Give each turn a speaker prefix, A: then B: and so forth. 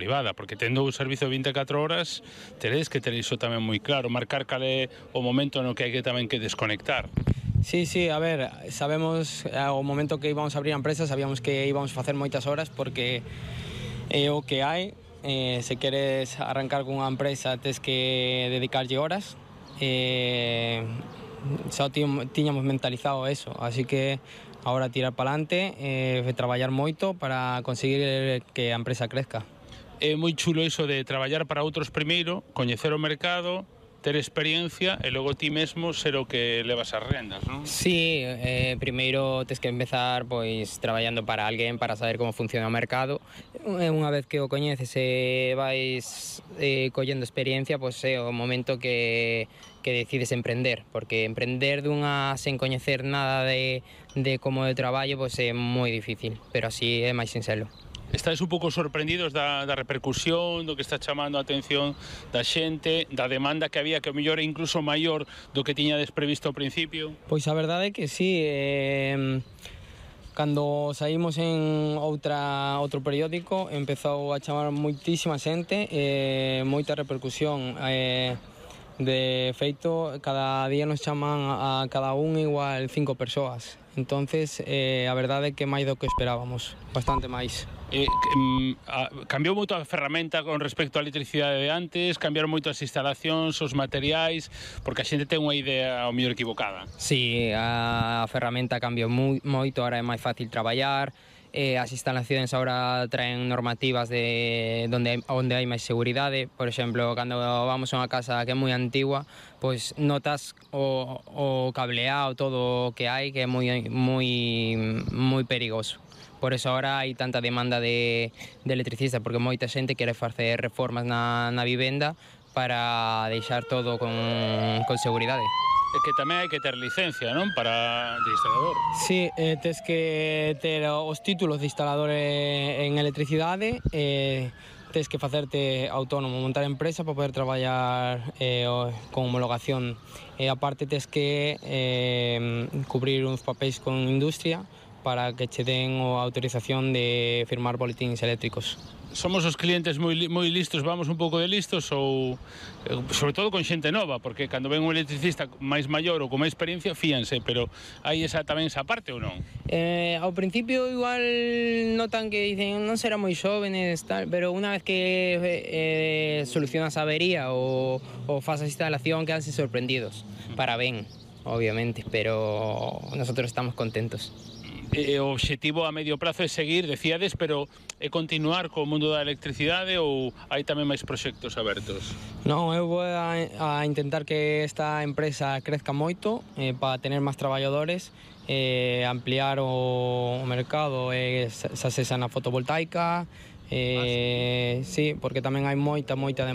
A: privada, porque tendo o servizo 24 horas teredes que ter iso tamén moi claro, marcar cal é o momento no que hai que tamén que desconectar.
B: Sí, a ver, sabemos ao momento que íbamos a abrir a empresa, sabíamos que íbamos a facer moitas horas porque é o que hai. Se queres arrancar cunha empresa tes que dedicarlle horas. Só tiñamos mentalizado eso, así que agora tirar para adelante, traballar moito para conseguir que a empresa crezca.
A: É moi chulo iso de traballar para outros primeiro, coñecer o mercado, ter experiencia e logo ti mesmo ser o que levas as rendas, non?
B: Sí, primeiro tes que empezar pois traballando para alguén para saber como funciona o mercado. Unha vez que o coñeces e vais collendo experiencia, pois é o momento que decides emprender, porque emprender sen coñecer nada de como de traballo pois é moi difícil, pero así é máis sinxelo.
A: Estáis un pouco sorprendidos da repercusión, do que está chamando a atención da xente, da demanda que había, que o mellor é incluso maior do que tiñades previsto ao principio?
B: Pois a verdade é que sí, cando saímos en outro periódico empezou a chamar moitísima xente, moita repercusión. De feito, cada día nos chaman a cada un igual 5 persoas. Entonces, a verdade é que máis do que esperábamos, bastante máis.
A: Cambiou moito a ferramenta con respecto á electricidade de antes, cambiaron moito as instalacións, os materiais, porque a xente ten unha idea ao mellor equivocada.
B: Sí, a ferramenta cambiou moito, ahora é máis fácil traballar. As instalacións agora traen normativas de onde hai máis seguridade. Por exemplo, cando vamos a unha casa que é moi antigua, pois notas o cableado, todo o que hai, que é moi perigoso. Por eso agora hai tanta demanda de electricistas, porque moita xente quere facer reformas na vivenda para deixar todo con seguridade.
A: É que tamén hai que ter licencia, non? De instalador.
B: Sí, tes que ter os títulos de instalador en electricidade, tes que facerte autónomo, montar empresa para poder traballar con homologación. E aparte tes que cubrir uns papéis con industria para que che den a autorización de firmar boletíns eléctricos.
A: Somos os clientes moi listos, vamos un pouco de listos, ou sobre todo con xente nova, porque cando ven un electricista máis maior ou con máis experiencia fíanse, pero hai tamén esa parte ou non?
B: Ao principio igual notan que dicen non será moi xóvenes, tal, pero unha vez que solucionas a avería ou faz a instalación quedanse sorprendidos, para ben, obviamente, pero nosotros estamos contentos.
A: O obxectivo a medio prazo é seguir, decíades, pero é continuar co mundo da electricidade ou hai tamén máis proxectos abertos?
B: Non, eu vou a intentar que esta empresa crezca moito para tener máis traballadores, ampliar o mercado, xa sexa na fotovoltaica, sí, porque tamén hai moita demanda.